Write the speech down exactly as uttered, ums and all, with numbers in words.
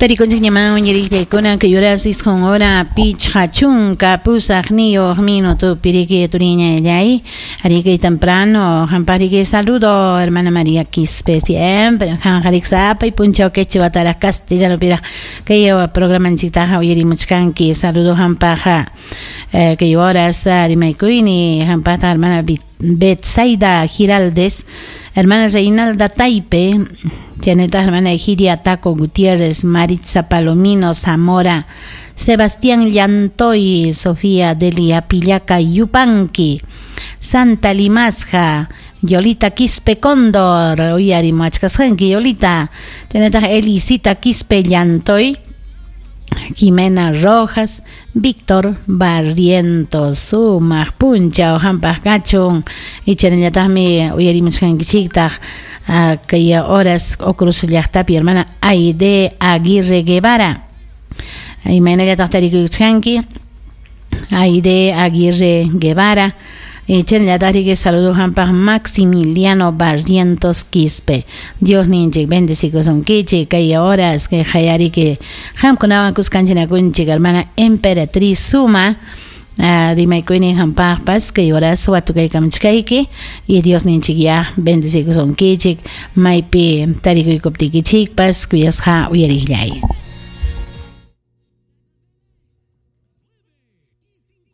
Tarikunchik ñaman uyariqllaykuna kay horas isqun hora pichqa chunka pusaqniyuq minuto piriki turiñallay ariki temprano hampariki saludo hermana María Quispe siempre hanjarik sapay punchaw quechua taraq castellano piraq kay programanchiktaqa uyarimuchkanki saludo hampaqa eh, kay horas rimaykuyni hampata hermana Betsaida Giraldes, hermana Reinalda Taipe, Janeta hermana Egidia Taco Gutiérrez, Maritza Palomino Zamora, Sebastián Llantoy, Sofía Delia Pillaca Yupanqui, Santa Limasja, Yolita Quispe Cóndor, uyarimuachkasqanki Yolita, Janeta Elisita Quispe Llantoy, Jimena Rojas, Víctor Barrientos, sumaq punchaw hampaq kachun ichanallataqmi uyarimuchkankichiktaq kay horas Ocruz llaqtapi hermana Aide Aguirre Guevara. Imaynallataq tarikuykuchkanki Aide Aguirre Guevara. Ichanallataq saludo hampaq Maximiliano Barrientos Quispe. Dios ninchik bendecikusunkichik kay horas kay hayariki hamkunawan kuskanchinakunchik hermana Emperatriz Suma. Uh, rimaykuynin hampaqpas kay horas watukaykamuchkayki y Dios ninchik ya bendecikusunkichik maypi tarikuykuptikichikpas kuyasqa uyariqllay.